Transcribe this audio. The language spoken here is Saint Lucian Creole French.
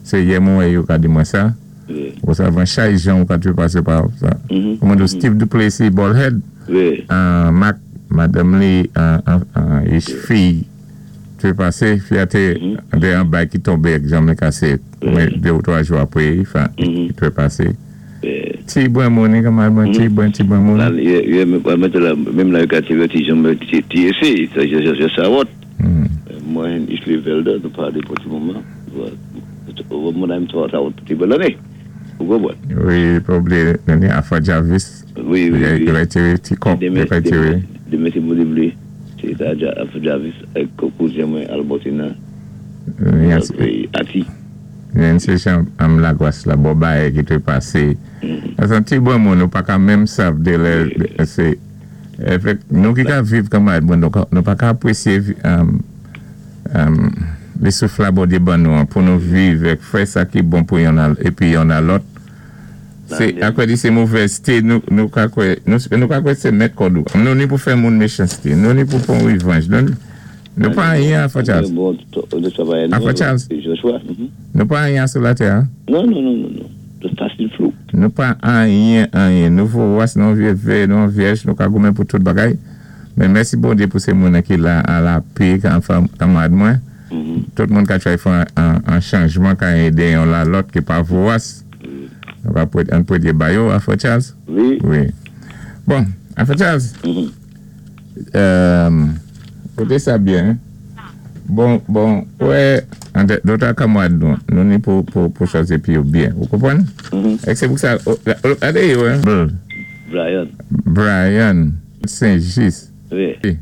Sé yè mwen wè yo ka di mwen sa. Ou sav chay jan ou ka twépasé pa sa. Kouman di Steve Duplessis bald-head. Mak madanm li fi twépasé, fi a té an bay ki tonbé ak janm li kasé 2 ou 3 jou apwé li twépasé. Ti bwen moun, kanmad mwen, ti bwen, ti bwen moun. Menm la yo ka tiwé ti janm ti éséyé, sa sawòt. Mwen Isle Velda, nou palé pou ti moman. Mwen menm sawòt ti bèl anné. Ou konpwann? Wi, pa oubliyé nènè Afa Jarvis. Wi. Yo va tiwé ti kòp, yo va tiwé. Demen si Bondye vlé, sé sa Afa Jarvis ak kouzen mwen Albertina. Ati. Nancy Jean am Lagwas la bò bayè ki te pasé. Asan ti bwen moun ou pa ka menm sav de lè sé efek nou ki ka viv kanmad mwen nou pa ka apwésyé lé souf la Bondye ban nou an pou nou viv èk fè sa ki bon pou yonn épi yonn a lòt sé akwè di sé movèzté nou ka kwè nou ka kwè sé mèt kòd ou nou ni pou fè moun méchansté nou ni pou pwan revanj nou pa anyen Alpha Charles Alpha Charles nou pa anyen sou latè a. Non, non, non, non, non. Nou pa anyen, anyen. Nou vowas, nou vyé, nou vyèj, nou ka goumen pou tout bagay. Men mèsi Bondye pou sé moun ki la a lapé, kanmad mwen. Tout moun ka try fè an chanjman ka édé yon la lòt ki pa vowas. Nou ka an pwédyé ba yo, Alpha Charles? Wi. Wi. Bon, Alpha Charles. Kouté sa byen. Bon, wè, dota kanmad nou, nou ni pou chwazi pi yo byen. Ou konpwann? Ek sé pou sa, gade yo, Brian. Brian. Saint-Just. Wi.